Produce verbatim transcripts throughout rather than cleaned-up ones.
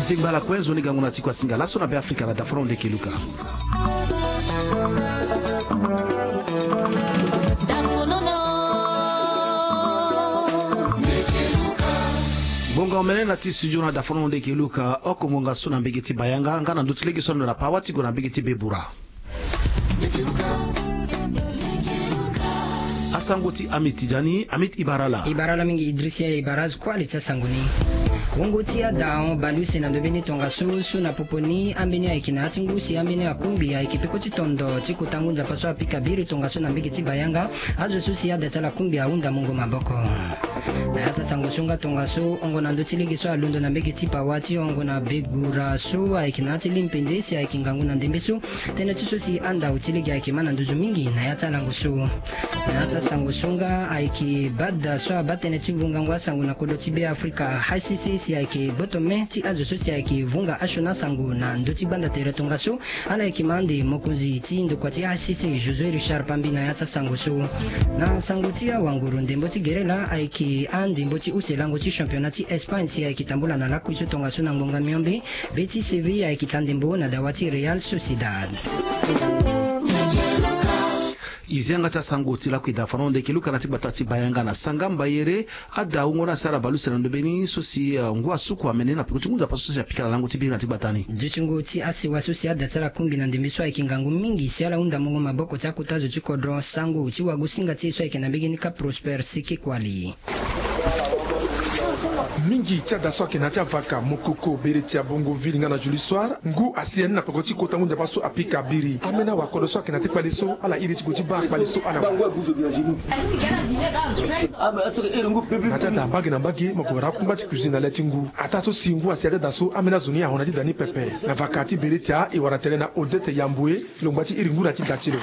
Zengba ala kue, nzoni gango na ti kuasinga laso na Be Afrika na dafono ndeke luka. Ngonga omene na ti studio na dafono ndeke luka oko ngonga so na mbege ti bayanga nga na ndö ti lege so alondo na pawa ti gue na mbege ti bebura. Asango ti Amit Tidjani, Amit Ibarala. Ibarala mingi Idrisia Ibaraz, kue ale ti asango ni. Wungo ti ada ahon baleuse na ndö mbeni tongaso so na popo ni ambeni ayeke na ya ti ngu si ambeni akungbi ayeke peko ti tondo ti kota ngu nzapa so apika biri tongaso na mbege ti bayanga. Azo so si ada ti ala kungbi ahunda mungo maboko. Na ya ti asango so nga tongaso, hongo na ndö ti lege so alondo na mbege ti pawa ti hongo na begura so ayeke na ya ti limpende si ayeke ngangu na ndembe so. Tënë ti so si andau ti lege ayeke ma na nduzu mingi na ya ti alango so. Na ya ti asango so nga ayeke bada so abaa tënë ti vungango asango na kodro ti Be Afrika, I C C, si ayeke gboto me ti azo so si ayeke vunga asioni asango na ndö ti gbanda tere tongaso. Ala yeke ma ande mokonzi ti ndokua ti I C C, Josué Richard Pambi, na ya ti asango so. Na sango ti awanguru, ndembo ti gere laa ayeke andembo ti use lango ti championnat ti Espagne si ayeke tambula na lakui so tongaso na ngbonga miombe. Betis Séville ayeke ta ndembo na dawa ti Real Sociedad. E zi yanga ti asango ti lakui da fano ndeke luka na ti gbata ti bayanga na sanga mbayere. Ada wungo ni asara baleuse na ndö mbeni so si, eh, ngu asuku amene na peko ti ngu nzapa so si apika na lango ti biri na ti gbata ni. Dutingo ti asewa so si ada ti ala kungbi na ndembe so ayeke ngangu mingi si ala hunda mungo maboko ti akota zo ti kodro. Sango ti wagosinga ti e so ayeke na mbege ni ka Prosper Seke Kuali. Mingi ti ada so ayeke na ya ti avaka, mokoko, bere ti abongo ville nga na Julie Soir, ngu asi ya ni na peko ti kota ngu nzapa so apika biri. Ambeni awakodro so ayeke na ya ti kpale so ala iri ti gue ti baa kpale so ala wara. Na ya ti ada mbage na mbage, mo yeke wara akungba ti cuisine na le ti ngu. Ataa so si ngu asi ya ti ada so, ambeni azo ni ahon na ya ti da ni pepe. Na vaka ti bere ti a, e wara tene na Odette Yamboué, longba ti iri ngu na ya ti da ti lo.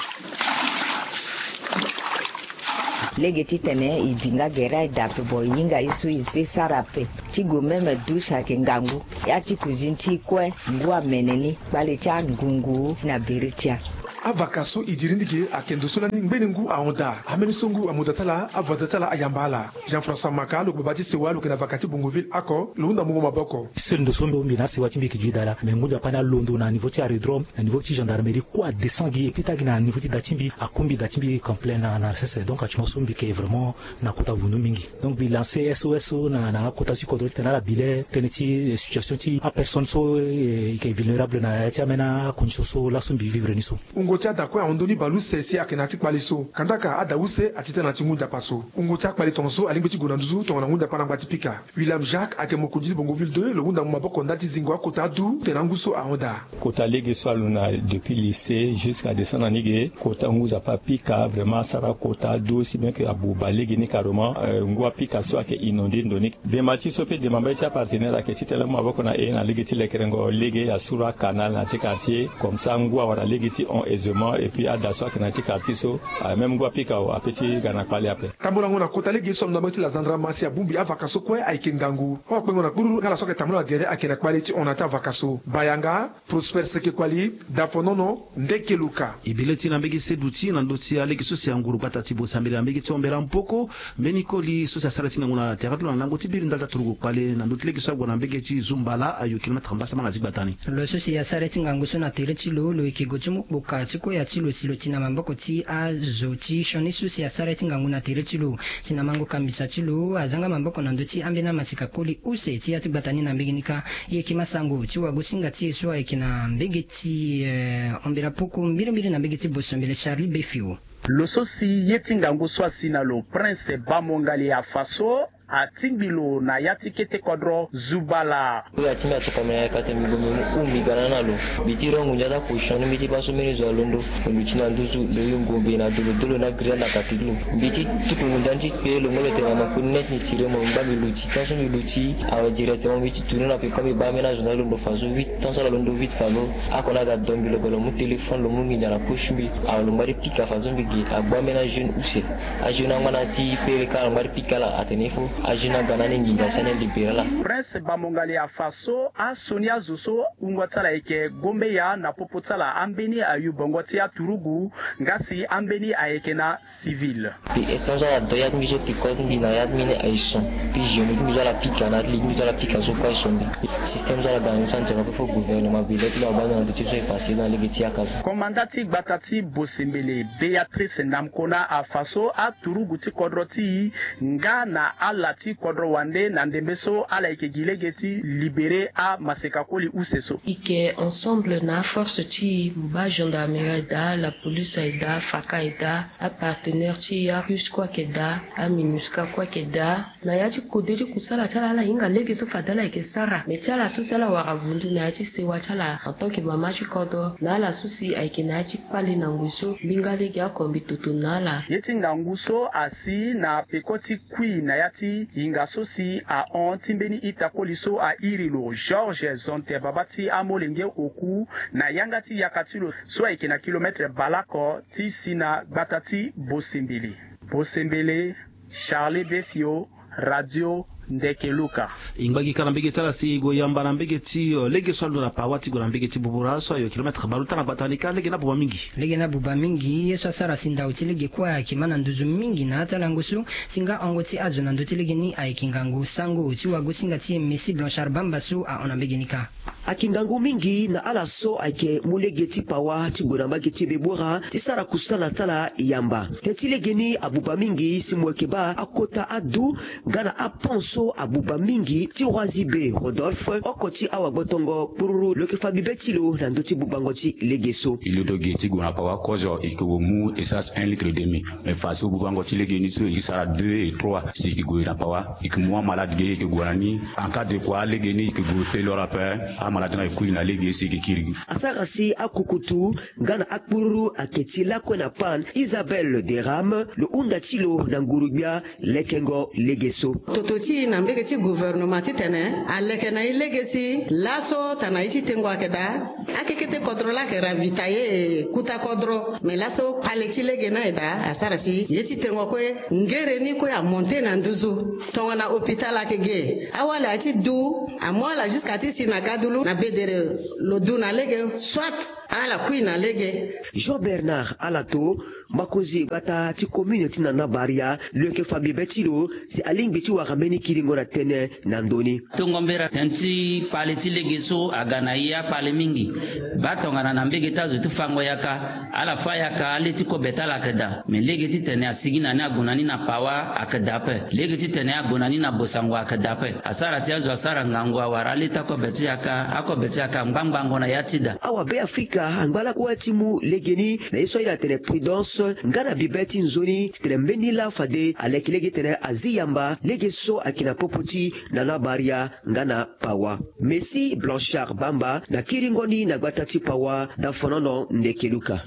Lege titene e bi nga gere aye daa ape, bon, e hinga ye so e peut sara ape. Ti gue même douche ayeke ngangu. Ya ti cuisine ti e kue, ngu amene ni, kpale ti angungu na bere ti a. Avaka so e diri ni ge ayeke ndo so lani ngbene ngu ahon daa. Ambeni so ngu amu da ti ala, avoisin ti ala ayamba ala. Jean-François Maka, lo yeke baba ti sewa, lo yeke na vaka ti Bongoville oko, lo hunda mungo maboko. Seul ndo so mbi hon mbi na asewa ti mbi yeke duit daa laa, mais ngu nzapa ni alondo na niveau ti aérodrome, na niveau ti gendarmerie, kue adescend gi, et puis taa gi na niveau ti da ti mbi, akungbi da ti mbi complet na, na sese. Donc actuellement so mbi yeke vraiment na kota vundu mingi. Donc mbi lancer S O S so na, na akota ti kodro titene ala bi le tënë ti, eh, situation ti apersonne so, eh, e yeke vulnérable na ya ti ambeni acondition so laso mbi vivre ni so. Wungo ti ada kue ahon ndoni baleuse si ayeke na ya ti kpale so. Kandaka ada use ati tënë na ya ti ngu nzapa so. Wungo ti akpale tongaso alingbi ti gue na nduzu tongana ngu nzapa na ngba ti pika. William Jacques ayeke mokonzi ti Bongoville deux, lo hunda mu maboko ndali ti zingo akota adu tene angu so ahon daa. Kota lege so alondo na depuis lycée jusqu'à descendre na ni ge, kota ngu nzapa apika, vraiment asara kota adu, si bien que abuba lege ni carrément, euh, ngu apika so ayeke inondé ndo ni. Demba ti so pe demba mbage ti apartenaire ayeke titene amu maboko na e na lege ti lekerengo lege, asuru acanal na ya ti quartier, comme ça ngu awara lege ti hon aisément, et puis ada so ayeke na ya ti quartier so, ah, même ngu apika awe, ape ti ga na kpale ape. Tambolango na kota lege so alondo na mbage ti Lazandrama si abongbi avaka so kue ayeke ngangu. Awakpengo na kpururu nga ala so ayeke tambula na gere ayeke na kpale ti hon na ya ti avaka so. Bayanga, Prosper Seke Kuali, Dafonono, Ndeke Luka. E bi le ti e na mbege seduti na ndö ti alege so si anguru gbata ti Bosambela na mbege ti Hombela Mpoko. Mbeni koli so si asara ti ngangu na tere ti lo na lango ti biri ndali ti aturugu kpale na ndö ti lege so ague na mbege ti Zumbala ayo kilomètre mbasama na ti gbata ni. Lo so si asara ti ngangu so na tere ti lo, lo yeke gue ti mu kpoka ti koya ti lo si lo ti na maboko ti azo ti sioni so si asara ti ngangu na tere ti lo. Si na mango kambisa ti lo, azanga maboko na ndö ti ambeni amasika koli use ti ya ti gbata ni na mbege ni kâ. E yeke ma sango ti wagosinga ti e so ayeke na mbege ti, eh, Hombela Mpoko mbirimbiri na mbege ti Bosambela, Charlie Befio. Lo so si ye ti ngangu so asi na lo, Prince Bamongali afa so, atingbi lo na ya ti kete kodro Zubala. Oyo atingbi atokua mbi na yaka tene mbi gue mbi mu huu mbi ga na ni na lo. Mbi ti rongo ndia ti aposition ni mbi ti baa so mbeni zo alondo. Lo luti na nduzu, lo yongo mbi na dolo dolo na grillade na kati ti lo. Mbi ti tuku ngu ndia ni ti kpe lo ngba lo tene na makoni net ni tire mo, mbi ngba mbi luti. Tant so mbi luti awe directement mbi ti tourner na peko mbi baa ambeni azo ndia alondo fa so vite. Tant so ala londo vite fa lo, oko ni aga do mbi lo gue lo mu téléphone lo mu nginza na poche mbi. Awe lo ngba ti pika fa so mbi gi agbu ambeni ajeune use. Ajeune angba na ya ti pere kâ lo ngba ti pika ala atene il faut Azo ni aga na ni nginza si ane libéré ala. Prince Bamongali afa so asioni azo so wungo ti ala ayeke gombeya na popo ti ala ambeni ayubongo ti aturugu nga si ambeni ayeke na civil. Mbi e ton so ala do ya ti mbi so piko ti mbi na ya ti mbi ni aye son. Mbi géométrie ti mbi so ala pika na atelier ti mbi so ala pika so kue aye son mbi. Système so ala ga na mbi so anzere ape fo gouvernement bi le ti lo abaa na ndo ti so e pase na lege ti yaka so. Komanda ti gbata ti Bosembele, Béatrice Namkona afa so aturugu ti kodro ti e nga na ala ti kodro wande na ndembe so ala yeke gi lege ti libéré amaseka koli use so. E yeke ensemble na aforce ti e, mo baa gendarmerie aye daa, la police aye daa, faka aye daa, apartenaire ti e arusse kue ayeke daa, aminusca kue ayeke daa. Na ya ti kode ti kusala ti ala, ala hinga lege so fade ala yeke sara. Me ti ala so si ala wara vundu na ya ti sewa ti ala en tant que mama ti kodro, na ala so si ayeke na ya ti kpale na ngoi so mbinga lege oko mbi toto na ala. Ye ti ngangu so asi na peko ti kui na ya ti hinga so si ahon ti mbeni ita koli so airi lo Georges Zonte, baba ti amolenge oku, na yanga ti yaka ti lo so ayeke na kilomètre bale oko ti si na gbata ti Bosembele. Bosembele, Charlie Befio, Radio Ndeke Luka. E ngba gi ka na mbege ti ala si e gue yamba na mbege ti, eh, lege so alondo na pawa ti gue na mbege ti Bubura so ayo kilomètre bale ota na gbata ni ka. Lege ni abuba mingi. Lege ni abuba mingi. Ye so asara si ndau ti lege kue ayeke ma na nduzu mingi na ya ti alango so, si nga hongo ti azo na ndö ti lege ni ayeke ngangu. Sango ti wagosinga ti e Messi Blanchard Bamba so ahon na mbege ni ka. Ayeke ngangu mingi na ala so ayeke mu lege ti pawa ti gue na mbage ti Bebora ti sara kusala ti ala yamba. Tënë ti lege ni abuba mingi si mo yeke baa akota adu nga na apont so abuba mingi ti Roi Zibe Rodolphe oko ti awagbotongo kpururu lo yeke fa bibe ti lo na ndö ti bubango ti lege so. E londo ge ti gue na pawa kozo, e yeke mu essence un litre et demi. Me faso bubango ti lege ni so e yeke sara deux et trois si e yeke gue na pawa. E yeke mu amalade ge, e yeke gue na ni. En cas de quoi, lege ni e yeke gue peloro ape. Amalade ni ayeke kui na lege si e yeke kiri gi. Asara si akukutu nga na akpururu ayeke ti lakue na panne, Isabelle Derame, lo hunda ti lo na nguru-gbia lekengo lege so. Toto ti e na mbege ti gouvernement titene aleke na e lege si laso tana ye ti tengo ayeke daa. Akekete kodro laa ayeke ravitailler kuta kodro. Me laso kpale ti lege ni aye daa asara si ye ti tengo kue, ngere ni kue amonte na nduzu. Tongana hôpital ayeke ge, awali aye ti du, amu ala jusqu'à ti si na gadulu na bedere, lo du na lege, soit ala kui na lege. Jean Bernard Alato, mokonzi gbata ti commune ti Nana Baria, lo yeke fa bibe ti lo si alingbi ti wara mbeni kiringo na tënë na ndö ni. Tongo mbera tënë ti kpale ti lege so aga na e akpale mingi. Baa tongana na mbege ti azo ti fango yaka, ala fâ yaka, ale ti kobe ti ala ayeke daa. Me lege titene asigi na ni ague na ni na pawa ayeke daa ape. Lege titene ague na ni na bosango ayeke daa ape. Asara ti azo asara ngangu awara ale ti akobe ti yaka, akobe ti yaka angbangbango na ya ti daa. Awabe Afrika angba lakue ti mu lege ni na ye so airi atene prudence nga na bibe ti nzoni titene mbeni laa fade aleke lege titene azi yamba lege so ayeke na popo ti Nana Baria nga na pawa. Messi Blanchard Bamba na kiringo ni na gbata ti pawa, Dafonono Ndekeluka.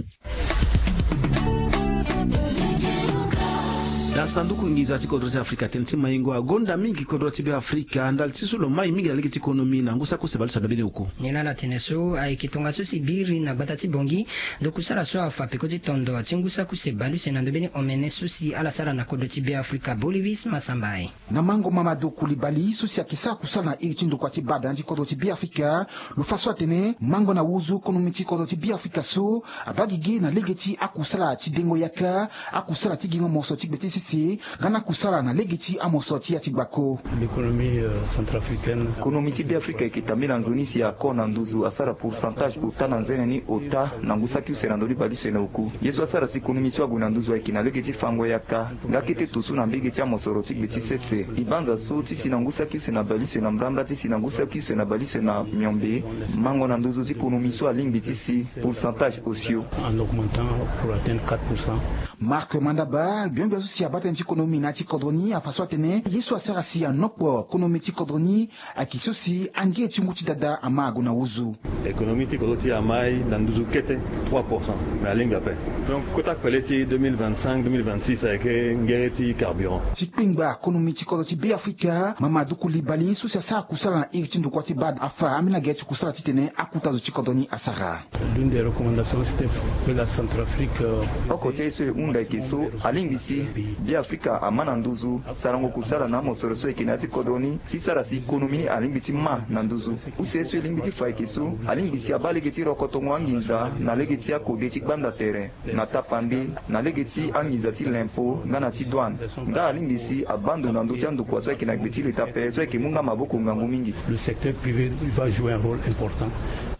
Na sanduku nginza ti kodro ti Afrika, tënë ti maingo agonda mingi kodro ti Beafrika ndali ti so lo mai mingi na lege ti konomi na ngu saki use baleuse na mbeni oku. Nyen ala tene so ayeke tongaso si biri na gbata ti Bongi, ndo kusala so afa peko ti tondo ti ngu saki use baleuse na ndo mbeni omene so si ala sara na kodro ti Beafrika. Bolivis Masambai. Na mango Mamadou Koulibaly so si ayeke sara kusala na iri ti ndokua ti bad na ya ti kodro ti Beafrika, lo fa so atene mango na wuzu konomi ti kodro ti Beafrika so abaa gigi na lege ti akusala ti dengo yaka, akusala ti gingo moso ti gbe ti sese, nga na akusala na lege ti amoso ti ya ti gbako. L'économie, euh, centrafricaine. Konomi ti Beafrika ayeke tambela nzoni si ako na nduzu asara pourcentage ota na nzene ni ota na ngu saki use na ndö ni baleuse na oku. Ye so asara si konomi so ague na nduzu ayeke na lege ti fango yaka. Nga kete toso na mbege ti amosoro ti gbe ti sese. E banza so ti si na ngu saki use na baleuse na mbrambra ti si na ngu saki use na baleuse na miombe, mango na nduzu ti konomi so alingbi ti si pourcentage osio. En augmentant pour atteindre quatre pour cent. Marc Mandaba, gbia gbia so si abaa tënë ti konomi na ya ti kodro ni afa so atene ye so asara si anokpo konomi ti kodro ni ayeke so si angere ti ngu ti dada ama ague na wuzu. Économie ti kodro ti e amai na nduzu kete trois pour cent, mais alingbi ape. Donc kota kpele ti deux mille vingt-cinq deux mille vingt-six ayeke ngere ti carburant. Ti kpengba konomi ti kodro ti Beafrika, Mamadou Koulibaly so si asara kusala na iri ti ndokua ti bad afa ambeni lage ti kusala titene akuta zo ti kodro ni asara. L'une des recommandations, c'était que la Centrafrique, euh, oko ti aye so e hunda ayeke so alingbi si Beafrika ama na nduzu sarango kusala na amosoro so ayeke na ya ti kodro ni, si sara si konomi ni alingbi ti ma na nduzu. Use so e lingbi ti fa ayeke so, alingbi si abaa lege ti rokotongo anginza na lege ti akode ti gbanda tere, na tapande, na lege ti anginza ti lempo nga na ti douane. Nga alingbi si abaa ndo na ndö ti andokua so ayeke na gbe ti leta ape so ayeke mu nga maboko ngangu mingi. Le secteur privé va jouer un rôle important.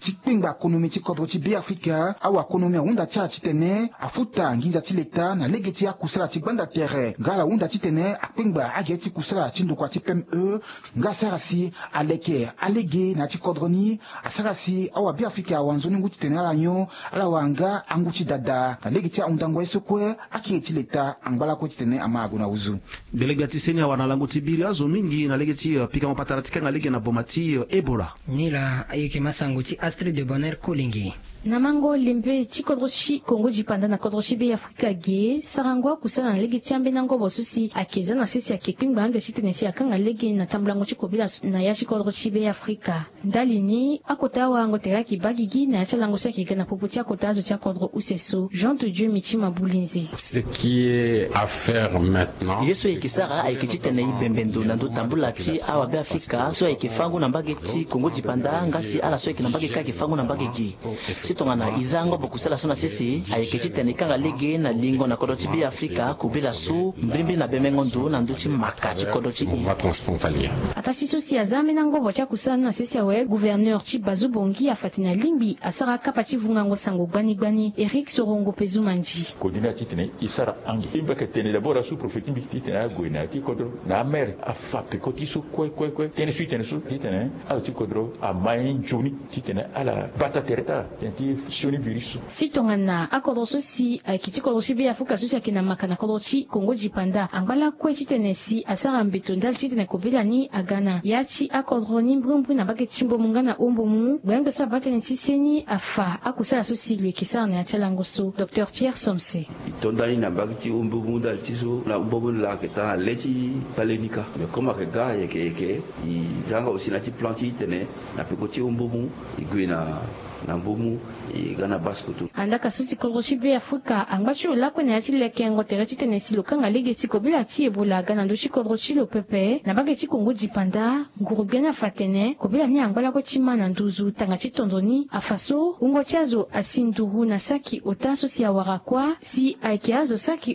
Ti kpengba konomi ti kodro ti Beafrika, awakonomi ahunda ti ala titene afuta nginza ti leta na lege ti akusala ti gbanda tere. Nga ala hunda titene akpengba agere ti kusala ti ndokua ti P M E, nga asara si aleke alege na ya ti kodro ni, asara si awabeafrika awa nzoni ngu titene ala nyon, ala wara nga angu ti dada na lege ti ahundango ye so kue akiri ti leta angba lakue titene ama ague na huzu. Gbele gbia ti seni awara na lango ti biri azo mingi na lege ti, eh, pikango patara ti kanga lege na boma ti, eh, Ebola. Ni laa ayeke masango ti Astrid de Bonheur Kolenge. Na mango lembe ti kodro ti Kongo dipanda na kodro ti Beafrika ge, sarango akusala na lege ti ambeni angobo so si ayeke za na sese ayeke kpengba ande titene si akanga lege na tambulango ti kobela na ya ti kodro ti Beafrika. Ndali ni, akota awarango tere ayeke baa gigi na ya ti alango so ayeke ga na popo ti akota azo ti akodro use so. Jean de Dieu Mitima Bulinze. Ce qui est à faire maintenant, ye so e yeke sara ayeke titene e bembe ndo na ndö tambula ti awabeafrika so ayeke fango na mbage ti Kongo dipanda, nga si ala so ayeke na mbage kâ ayeke fango na mbage ge. Si tongana e za angobo kusala so na sese, ayeke titene e kanga lege na lingo na kodro ti Beafrika kobela so mbrimbri na bemengo ndo na ndö ti maka ti kodro ti e. Ataa ti so si aza ambeni angobo ti akusala ni na sese awe, gouverneur ti Bazu Bongi afa tene alingbi asara akapa ti vungango sango gbani gbani. Eric Sorongo Pezumandi. Kodi ni atitene e sara ange. E mbi yeke tene d'abord asous-préfet ti mbi titene ague na ya ti kodro na amere afa peko ti so kue kue kue. Tënë so e tene so titene azo ti kodro ama ye nzoni titene ala bata tere ti ala tene ti sioni virus so. Si tongana akodro so si ayeke ti kodro ti Beafrika so si ayeke na maka na kodro ti Kongo dipanda angba lakue titene si asara mbeto ndali titene kobela ni aga na ya ti akodro ni mbrimbri na mbage ti Mbomu nga na Hombomu, gbengbe so abaa tënë ti seni afa akusala so si lo yeke sara na ya ti alango so. Docteur Pierre Somse. E to ndani na mbage ti Hombomu ndali ti so na Hombomu laa ayeke taa na le ti kpale ni kâ. Mais comme ayeke ga ayeke yeke, e za nga aussi na ya ti plan ti e tene na peko ti Hombomu e gue na, na Mbomu, e ga na Basse-Kotto. Andaa ka so si kodro ti Beafrika angba ti lo lakue na ya ti lekengo tere titene si lo kanga lege si kobela ti Ebola aga na ndö ti kodro ti lo pepe na mbage ti Kongo dipanda. Nguru-gbia ni afa tene kobela ni angba lakue ti ma na nduzu tanga ti tondo ni afa so wungo ti azo asi nduru na saki ota so si awara kuâ si ayeke azo saki